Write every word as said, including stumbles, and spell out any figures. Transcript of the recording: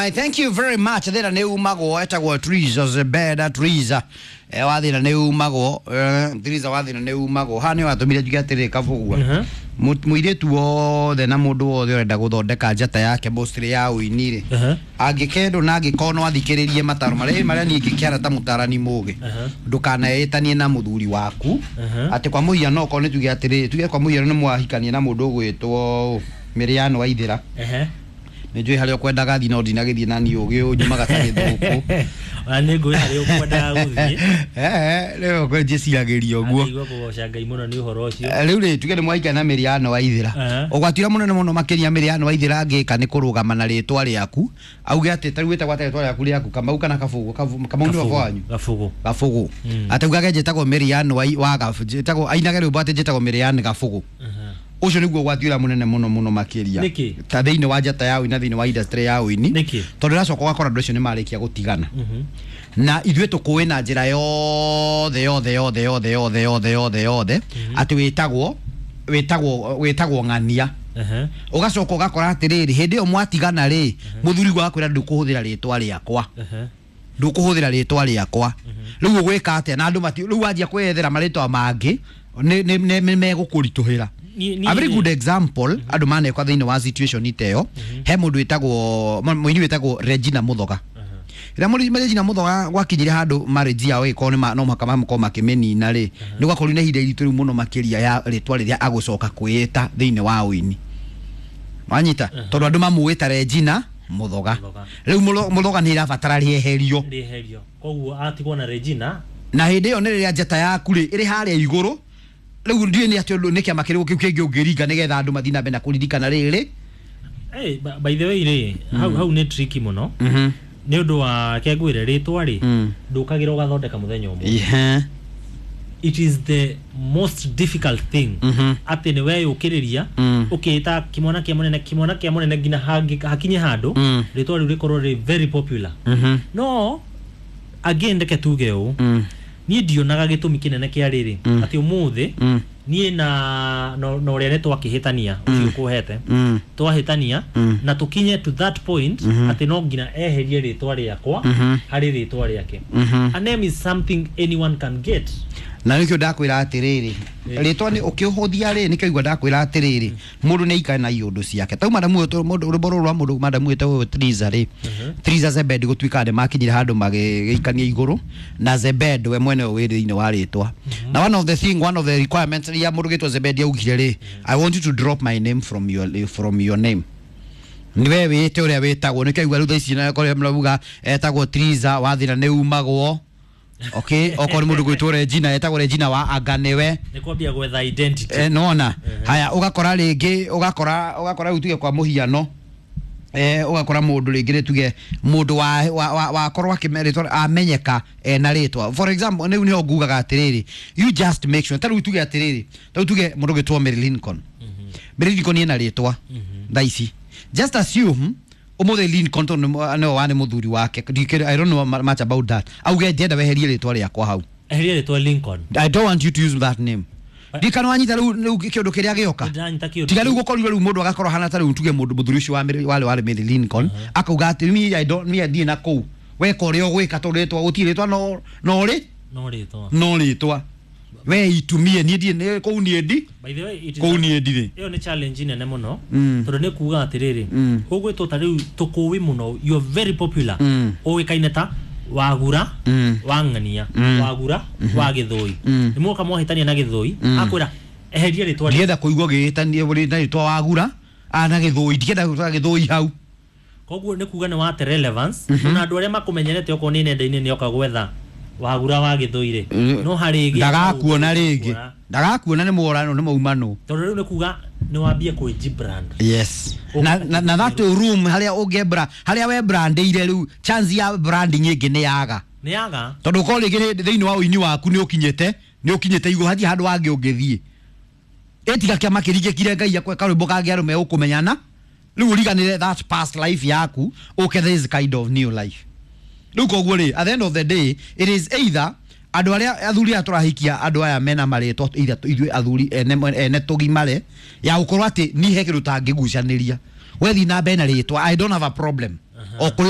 I thank you very much. Thina nä umagwo etagwo Triza Zebeda Triza. E wa thina nä umagwo eh, Triza wa thina nä umagwo. Haha nä watũmire njuge atĩrĩ kabũgua. Mhm. Mũirĩtu wothe na mũndũ wothe ũrenda gũthondeka njata yake mostly ya ũini rĩ. Aha. Angĩkendwo na angĩkorwo no athikĩrĩrie mataro marĩa marĩa niĩ ingĩkĩara ta mũtarani mũgĩ. Aha. Ndũkaneĩtanie na mũthuri waku. Aha. Atĩ kwa mũhiano okorwo nĩ tuge atĩrĩrĩ tuge kwa mũhiano nĩ mwahikania na mũndũ ũgwĩtwo Mĩrĩano Waithĩra. Ehe. Nä njå harä a ũkwendaga thiĩ no ndinagĩthiĩ na niĩ ũgĩ ũnyumaga ta gĩthũkũ. Ona nĩ ngũĩ harĩa ũkwendaga gũthiĩ. Rĩu njĩciragĩria ũguo. Ndaigua kũgoca Ngai mũno nĩ ũhoro ũcio. Eh, rĩu rĩ tuge nĩ mwaikara na Mĩrĩano Waithĩra. Aha. Ũgwati ũrĩa mũnene mũno makĩria Mĩrĩano Waithĩra angĩka nĩ kũrũgama na rĩtwa rĩaku auge atĩ ta rĩu wĩtagwo atĩa rĩtwa rĩaku rĩaku Kamau kana Kabũgũ? Kabu- Kamau nĩ baba wanyu. Gabũgũ. Gabũgũ. Mm. Atĩ augage njĩtagwo Mĩrĩano wa wa Gabũ- njĩtagwo ainage rwĩmbo atĩ njĩtagwo Mĩrĩano Gabũgũ. Aha. Ũcio nĩguo ũgwati ũrĩa mũnene mũno mũno makĩria. Nĩkĩ? Ta thĩinĩ wa njata ya ũini na thĩinĩ wa industry ya ũini. Nĩkĩ? Tondũ ũracoka ũgakora andũ acio nĩ marĩkia gũtigana. Mhm. Na ithuĩ tũkũĩ na njĩra yothe yothe yothe yothe yothe yothe yothe yothe atĩ wĩtagwo wĩtagwo wĩtagwo ng'ania. Aha. Ũgacoka ũgakora atĩrĩrĩ hĩndĩ ĩyo mwatigana rĩ mũthuri wakwĩra ndũkũhũthĩra rĩtwa rĩakwa. Aha. Ndũkũhũthĩra rĩtwa rĩakwa. Rĩu ũgwĩka atĩa na andũ mati rĩu wanjia kwĩyethera marĩtwa mangĩ nĩ nĩ nĩ nĩ megũkũritũhĩra. Niĩ- niĩ A very rĩ- good example andũ manekwa thĩinĩ wa situation ta ĩyo he mũndũ wĩtagwo mũini wĩtagwo Regina Mũthoga. Rĩrĩa mũri- Regina Mũthoga gwakinyire handũ marriage yao ĩgĩkorwo nĩ ma- no mũhaka makorwo makĩmĩnina rĩ nĩ gwakorirwo na ihinda iritũ rĩu mũno makĩria ya rĩtwa rĩrĩa agũcoka kwĩĩta thĩinĩ wa ũini. Wanyita tondũ andũ mamũĩ ta Regina Mũthoga. Mũthoga. Rĩu Mũtho- Mũthoga nĩ ĩrabatara rĩeherio. Rĩeherio. Koguo atigwo na Regina. Na hĩndĩ ĩyo nĩ rĩrĩa njata yaku rĩ ĩrĩ harĩa igũrũ rĩu ndiũĩ nĩ atĩ ũndũ nĩ kĩama kĩrĩkũ kĩu kĩngĩ ũngĩringa nĩgetha andũ mathiĩ na mbere na kũririkana rĩrĩ. Hey, by by the way rĩ hau hau nĩ tricky mũno. Mhm. Nĩ ũndũ wa kengwĩre rĩtwa rĩ Mm. ndũkagĩra ũgathondeka mũthenya ũmwe. Ihe. It is the most difficult thing. Mhm. Atĩ nĩ weyũkĩrĩria Mm. ũkĩĩta kĩmwana kĩa mũnene kĩmwana kĩa mũnene nginya hangĩ- hakinye handũ Mm. rĩtwa rĩu rĩkorwo rĩ very popular. Mhm. No again reke tuge ũũ Mm. niĩ ndionaga gĩtũmi kĩnene kĩa rĩrĩ Mm. atĩ ũmũthĩ Mm. niĩ na na na ũrĩa nĩ twakĩhĩtania ũcio ũkũhete Mm. twahĩtania Mm. na tũkinye to that point atĩ no nginya eherie rĩtwa rĩakwa Mhm. harĩ rĩtwa rĩake. Mhm. A name is something anyone can get. Na nĩkĩo ndakwĩra atĩrĩrĩ rĩtwa nĩ ũkĩhũthia rĩ nĩkĩo igua ndakwĩra atĩrĩrĩ mũndũ nĩ aikare na iũndũ ciake tau madamu ũyũ mũndũ rwĩmbo rũrũ rwa mũndũ madamu wĩtagwo Triza rĩ Triza Zebed gũtuĩka nĩ makinyire handũ magĩikania igũrũ na Zebed we mwene wĩ thĩinĩ wa rĩtwa na one of the thing one of the requirements iria mũndũ gĩtwo Zebed augire rĩ I want you to drop my name from your from your name niwe wĩte ũrĩa wĩtagwo nĩkĩo igua rĩu thaa ici na korĩa mũrauga etagwo Triza wathĩna nĩ umagwo okay okorwo nĩ mũndũ gwĩtwo Regina etagwo Regina wa anga nĩwe Nĩ kwambia gwetha identity. eh, nona haya ũgakora rĩngĩ ũgakora ũgakora rĩu tuge kwa mũhiano eh ũgakora mũndũ rĩngĩ rĩ tuge mũndũ wa wa wa wakorwo akĩme rĩtwa amenyeka ena rĩtwa for example rĩu nĩho ngugaga atĩrĩrĩ you just make sure ta rĩu tuge atĩrĩrĩ ta rĩu tuge mũndũ gwĩtwo Mary Lincoln Mary Lincoln ena rĩtwa thaa ici just assume ũmũthĩ Lincoln tondũ nĩ- nĩwe warĩ mũthuri wake Ndikĩ- I don't know much about that auge ndienda weherie rĩtwa rĩakwa hau. Eheria rĩtwa Lincoln. I don't want you to use that name. Ndikana wanyita rĩu rĩu kĩũndũ kĩrĩa gĩoka. Nĩndĩranyita kĩũndũ Tiga rĩu kĩu. gũkorirwo rĩu mũndũ agakorwo hana ta rĩu tuge mũndũ mũthuri ũcio wa Mary- warĩ warĩ Mary Lincoln akauga atĩ me I don't me ndirĩ na kũu weka ũrĩa ũgwĩka tondũ rĩtwa gũtirĩ rĩtwa no no rĩ No rĩtwa. no rĩtwa we itumie niĩ ndirĩ nĩ- kũu niĩ ndi By the way it is kũu a- niĩ ndirĩ. ĩyo nĩ challenge nene mũno Mm. tondũ nĩ kuga atĩrĩrĩ Mm. ũgwĩtwo ta rĩu tũkũĩ mũno you are very popular Mm. ũĩkaine ta wagura Mm. wa ng'ania Mm. wagura wa gĩthũi Mm. nĩ mwoka mwahĩtania na gĩthũi akwĩra eheria rĩtwa rĩu. Ndienda kũigua gĩgĩtania na rĩtwa wagura ana gĩthũi ndienda gwĩtwa gĩthũi hau. Koguo nĩ kuga nĩ wate relevance ona andũ arĩa makũmenyerete okorwo nĩ nenda-inĩ nĩ oka gwetha wagura wa gĩthũi rĩ Mm. no harĩ ĩngĩ Ndagakuona rĩngĩ ndagakuona nĩ mworano nĩ maumanũ. Tondũ rĩu nĩ kuga nĩ wambie kwĩji-brand. Yes na, na, na that room harĩa ũngĩembra harĩa we brandĩire rĩu chance ya branding ĩngĩ nĩ yaga. Nĩ yaga. Tondũ ũkorwo rĩngĩ nĩ- thĩinĩ wa ũini waku nĩ ũkinyĩte nĩ ũkinyĩte igũrũ hatirĩ handũ hangĩ ũngĩthiĩ ĩtiga kĩama kĩringĩkire ngai akwe karwĩmbo kangĩ andũ megũkũmenyana rĩu ũriganĩre that past life yaku ũke this kind of new life rĩu koguo rĩ at the end of the day it is either andũ arĩa athuri aya tũrahikia andũ aya mena marĩtwa either ithuĩ athuri ene ene tũgimare ya gũkorwo atĩ niĩ he kĩndũ tangĩgucanĩria wethi na mbere na rĩtwa I don't have a problem. O kũrĩa.